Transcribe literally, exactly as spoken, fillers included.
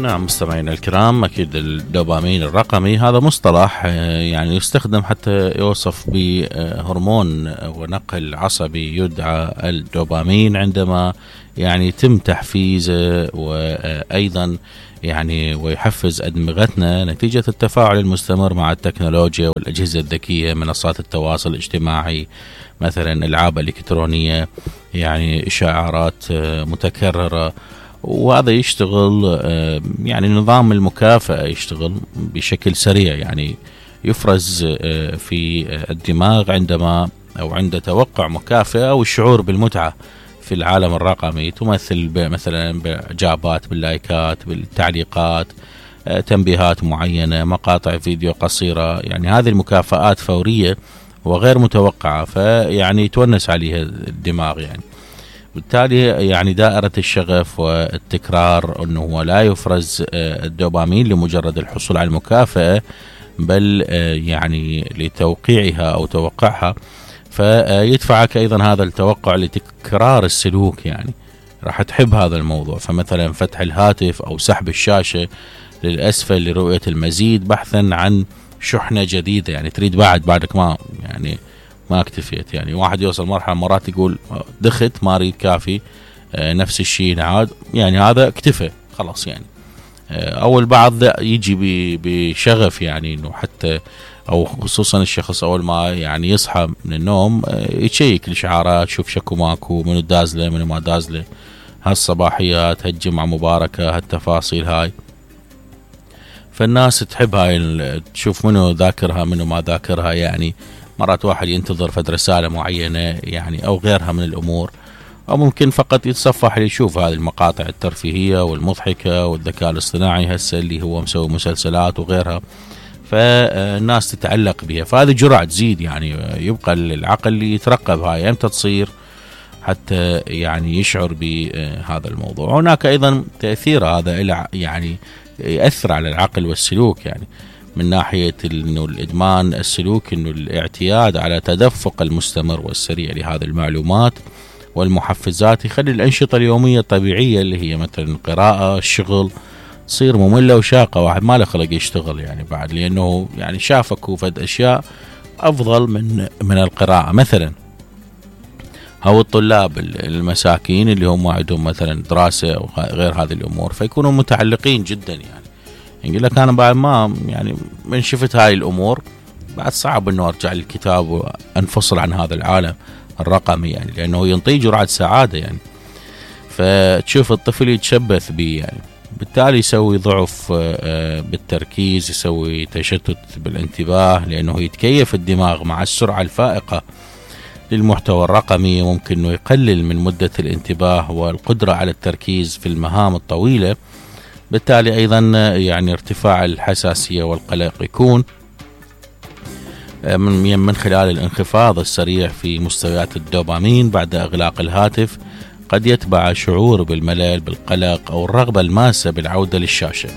نعم مستمعينا الكرام، أكيد الدوبامين الرقمي هذا مصطلح يعني يستخدم حتى يوصف بهرمون ونقل عصبي يدعى الدوبامين، عندما يعني يتم تحفيزه وأيضا يعني ويحفز أدمغتنا نتيجة التفاعل المستمر مع التكنولوجيا والأجهزة الذكية، منصات التواصل الاجتماعي، مثلا ألعاب إلكترونية، يعني إشعارات متكررة. وهذا يشتغل يعني نظام المكافأة يشتغل بشكل سريع، يعني يفرز في الدماغ عندما أو عند توقع مكافأة أو الشعور بالمتعة في العالم الرقمي، تمثل مثلا بإعجابات، باللايكات، بالتعليقات، تنبيهات معينة، مقاطع فيديو قصيرة. يعني هذه المكافآت فورية وغير متوقعة، فيعني يتونس عليها الدماغ يعني. بالتالي يعني دائرة الشغف والتكرار أنه لا يفرز الدوبامين لمجرد الحصول على المكافأة، بل يعني لتوقيعها أو توقعها، فيدفعك أيضا هذا التوقع لتكرار السلوك، يعني راح تحب هذا الموضوع. فمثلا فتح الهاتف أو سحب الشاشة للأسفل لرؤية المزيد بحثا عن شحنة جديدة، يعني تريد بعد بعدك ما يعني ما اكتفيت. يعني واحد يوصل مرحلة مرات يقول دخت ما اريد كافي، آه نفس الشيء نعاد، يعني هذا اكتفى خلاص. يعني آه او البعض يجي بشغف، يعني انه حتى او خصوصا الشخص اول ما يعني يصحى من النوم آه يشيك الاشعارات، شوف شكو ماكو، منو دازله منو ما دازله، هالصباحيات، هالجمعة مباركة، هالتفاصيل هاي. فالناس تحب هاي، تشوف منو ذاكرها منو ما ذاكرها. يعني مرات واحد ينتظر فد رسالة معينة يعني أو غيرها من الأمور، أو ممكن فقط يتصفح ليشوف هذه المقاطع الترفيهية والمضحكة والذكاء الاصطناعي هسه اللي هو مسوي مسلسلات وغيرها، فالناس تتعلق بها. فهذه جرعة تزيد، يعني يبقى العقل يترقب هاي امتى تصير حتى يعني يشعر بهذا الموضوع. هناك أيضا تأثير هذا يعني يأثر على العقل والسلوك، يعني من ناحية إنه الإدمان السلوك، إنه الاعتياد على تدفق المستمر والسريع لهذه المعلومات والمحفزات يخلي الأنشطة اليومية الطبيعية اللي هي مثلا القراءة، الشغل، تصير مملة وشاقة. واحد ما له خلق يشتغل يعني بعد، لأنه يعني شافك وفد أشياء أفضل من من القراءة مثلا. أو الطلاب المساكين اللي هم عندهم مثلا دراسة أو غير هذه الأمور، فيكونوا متعلقين جدا. يعني يقول لك أنا بعد ما يعني من شفت هاي الأمور بعد صعب إنه أرجع للكتاب وأنفصل عن هذا العالم الرقمي، يعني لأنه ينطي جرعة سعادة. يعني فتشوف الطفل يتشبث به، يعني بالتالي يسوي ضعف بالتركيز، يسوي تشتت بالانتباه، لأنه يتكيف الدماغ مع السرعة الفائقة للمحتوى الرقمي. ممكن إنه يقلل من مدة الانتباه والقدرة على التركيز في المهام الطويلة. بالتالي أيضا يعني ارتفاع الحساسية والقلق يكون من من خلال الانخفاض السريع في مستويات الدوبامين بعد إغلاق الهاتف. قد يتبع شعور بالملل، بالقلق، أو الرغبة الماسة بالعودة للشاشة.